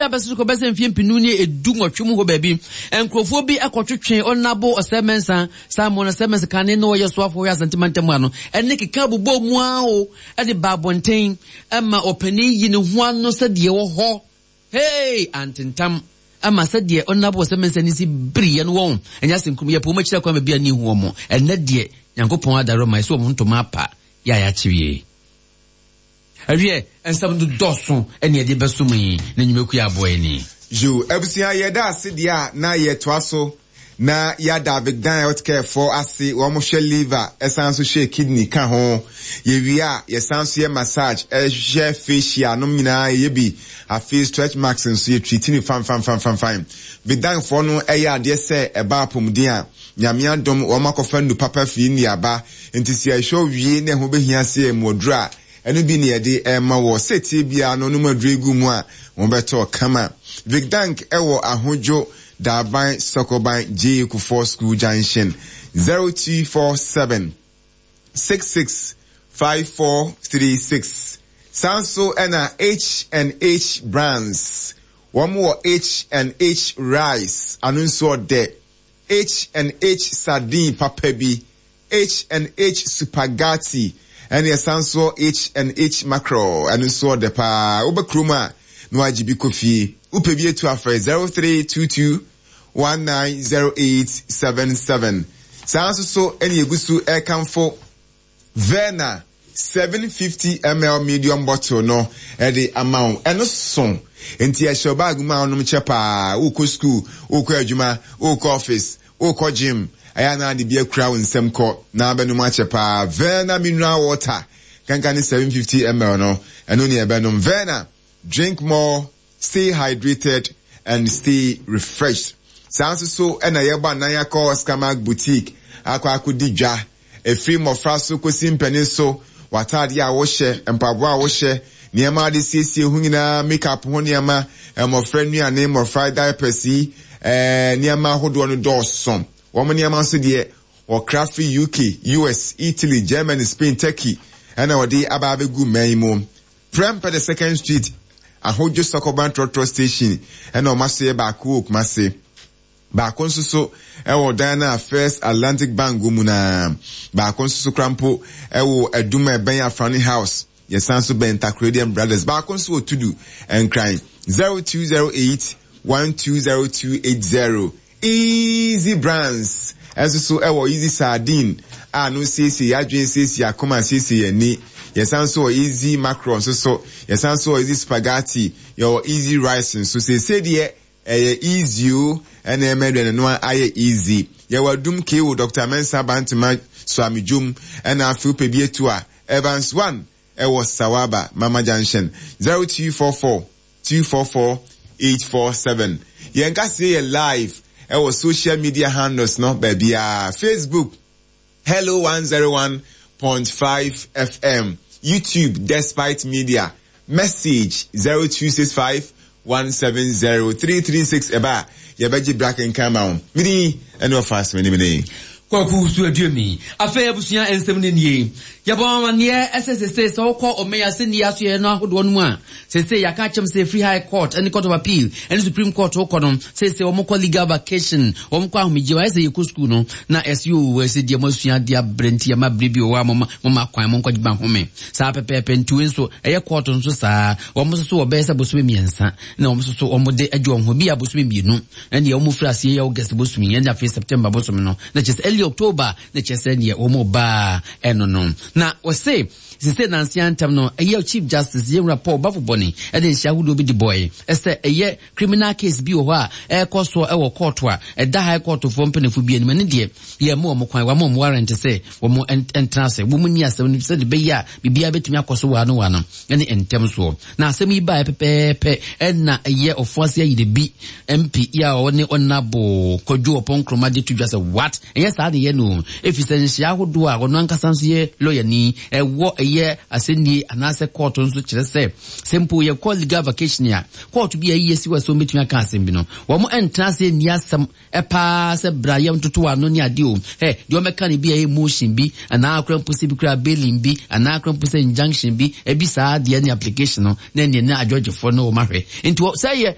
Abɛso kɔ bɛsɛ mfeɛ mpenu ne edu nwɔtwe mu hɔ baabi, nkurɔfoɔ bi kɔtwetwe Ɔnabo Ɔsɛe Mensah, Simon Ɔsɛe Mensah kane na ɔyɛ soafoɔ wɔ Asante mantam ha no, ɛne keka bobɔɔ mu ara o, de baa abɔnten ma ɔpanin yi ne ho ano sɛdeɛ ɛwɔ hɔ. Hey! Antentam ama sɛdeɛ Ɔnabo Ɔsɛe Mensah ne si biriɛ no wɔn, ɛnyɛ asenkum, yɛpɛ wɔn akyiri akwan baabi a ne nhu wɔn. Ɛnnɛ deɛ, Nyankopɔn adaworoma, ɛsɛ wɔn ntoma apa, yɛ a yɛakyereɛ. Ɛwiɛ, nsɛm no dɔɔso ɛne yɛde bɛsom yi na nnwumakuo yi aboa yɛn ni. Yoo abusua yɛda ase deɛ a na yɛtoa so na yɛada Vicdan Healthcare foɔ ase wɔn hwɛ liver ɛsan nso hwɛ kidney ka ho yɛwie a yɛsan nso yɛ massage ɛhwɛ facial nom nyinaa yɛyɛ bi afei stretch marks nso yɛ treat no fanfanfanfanfan Vicdan foɔ no ɛyɛ adeɛ sɛ ɛba apɔmuden a Nyame adom wɔn akɔfa nnu papa firi India aba nti sɛ yɛhwɛ wie na ɛho bɛhia sɛ yɛmu aduro a Ɛno bi na yɛde rema wɔ setie biara no nom aduro yi gu mu a wɔbɛtɔ kama. Vicdank wɔ Ahodwo, Daban, Sɔkɔban, J.A. Kufuor School Junction, 0247 66 5436. Saa nso na H and H Brands, wɔn wɔ H and H Rice, ano nso ɔdɛ, H and H Sardine papa bi, H and H Supagati ɛne ɛsan nso H and H Mackerel ɛno nso ɔdɛ paa. Woba kurom a na wagye bi kɔ fie. Wopɛ bi atu afrɛ 0322 190877. Saa nso so ɛne egu so ɛrekamfo Verna 750 ml medium bottle no de ama wo. Ɛno so nti ɛhyɛ wo bag mu a wonom kyɛ paa. Wokɔ sukuu, wokɔ adwuma, wokɔ office, wokɔ gym, ɛyɛ a na ade bi akura wo nsam kɔ na abɛnom akyɛ paa. Verna mineral water kanka ne 750 ml no, ɛno ne ɛbɛnom. Verna, drink more, Stay hydrated and stay refreshed. Saa nso so na yɛbɔ anan akɔ Oscarmark Boutique akɔ akɔdi dwa. Ɛfiri mmɔfra so kɔsi mpanin so, w'ataadeɛ a wohyɛ, mpaboa a wohyɛ, nneɛma a wode siesie ho nyinaa, makeup ho nneɛma, mmɔfra nnuane, mmɔfra diapers yi, eh, nneɛma ahodoɔ no dɔɔso. Wɔn nneɛma nso deɛ, wɔkra firi UK, US, Italy, Germany, Spain, Turkey, ɛna wɔde aba abɛgu mman yi mu. Prempeh the Second Street, Ahodwo Sɔkɔban Trɔtrɔ Station na wɔn asoɛeɛ baako wɔ Kumasi. Baako nso so wɔ dan no a First Atlantic Bank wɔ mu no ara. Baako nso so koraa mpo wɔ Adum a ɛbɛn Afrane House. Yɛsan nso bɛn Takoradian Brothers. Baako nso wɔ Tudu, Nkran. 0208 120280. Easy Brands nso so wɔ Easy Sardine a no siesie yɛn adwene, siesie yɛn akoma, siesie yɛn ani. Yɛsan nso wɔ Easy Mackerel nso so. Yɛsan nso wɔ Easy Spaghetti. Yɛwɔ Easy Rice nso. Seesei deɛ ɛyɛ easy o, ɛna ɛma aduane noa ayɛ easy. Yɛwɔ Adum KO, Doctor Mensah Bantama Suamidwom, ɛna afei wopɛ bi atu a, Evans One ɛwɔ Sawaba, Mama Junction, 0244 244 847. Yɛn kaseɛ yɛ live ɛwɔ social media handles no baabiara, Facebook, Hello 101.5 FM, YouTube, Despite Media, message 0265 170 336 ɛba a yɛbɛgye bra kenkan ma wo. Medin ɛne ɔfa asɛm ne. Kwaku Wusu Aduomi. Afei abusua nsɛm no nie. Yɛbɔ amanneɛ sɛ sesei sɛ wokɔ ɔman asɛnni asoɛeɛ no ahodoɔ no mu a, sesei yɛaka akyɛm sɛ ɛfiri High Court ne Court of Appeal ne Supreme Court wokɔ no, sesei wɔn kɔ legal vacation, wɔn kɔ ahomegyeɛ, ayɛ sɛ yɛkɔ sukuu no na ɛsɛ oo ɛsɛ deɛ moasua adeɛ abrɛ nti yɛma berɛ bi wɔ hɔ a moma moma kwan monkɔgye ma home. Saa pɛpɛɛpɛ nti wei nso ɛyɛ court nso saa, wɔn nso so wɔbɛyɛ sɛ bosome mmiɛnsa na wɔn nso so wɔn de agye wɔn ho bi a bosome mmienu ɛne wɔn firi aseɛ yɛ August bosome ɛne afei September bosome no na kyerɛ sɛ early October na kyerɛ sɛ neɛ wɔn baa ɛno no na wɔse sese nanse antam no ɛyɛ Chief Justice Yɛnwura Paul Bafobɔne ɛde nhyɛ ahodoɔ bi de bɔe ɛsɛ ɛyɛ criminal case bi wɔ hɔ a ɛrekɔ soɔ ɛwɔ court a ɛda high court foɔ mpanimfoɔ bi anim ɛne deɛ yɛn mo wɔn kwan wɔn wɔn warrant sɛ wɔn ntena ase wɔn ni asɛm no sɛde bɛyɛ a biribiara bɛtumi akɔ so wɔ ano wɔ ano ɛne ntɛm soɔ na asɛm yi baeɛ pɛpɛɛpɛ ɛna ɛyɛ ɔfoase ayire bi MP yi a ɔne ɔnabo Kwadwo Ɔpɔn Nkrumah de to dwa sɛ what ɛnyɛ saa ne yɛ no ɛfiri sɛ nhyia ahodoɔ a ɔno ankasa nso yɛ lɔyani ɛwɔ ɛyɛ asɛnnie anaasɛ kɔɔto nso kyerɛ sɛ sɛ mpo yɛkɔ legal vacation a kɔɔto bi a ɛyi asi wɔ sɛ wɔbɛtumi aka asɛm bi no wɔn ɛntena ase nni asɛm paa sɛ bra yɛ ntoto ano ne adeɛ o hɛ deɛ ɔmɛka no bi a ɛyɛ motion bi anaa akora mpo sɛ bi kura bailing bi anaa akora mpo sɛ injunction bi ebi saa deɛ ne application no na ɛneɛ ne adwɔgyefoɔ no wɔn ahwɛ nti sɛ yɛ yɛ.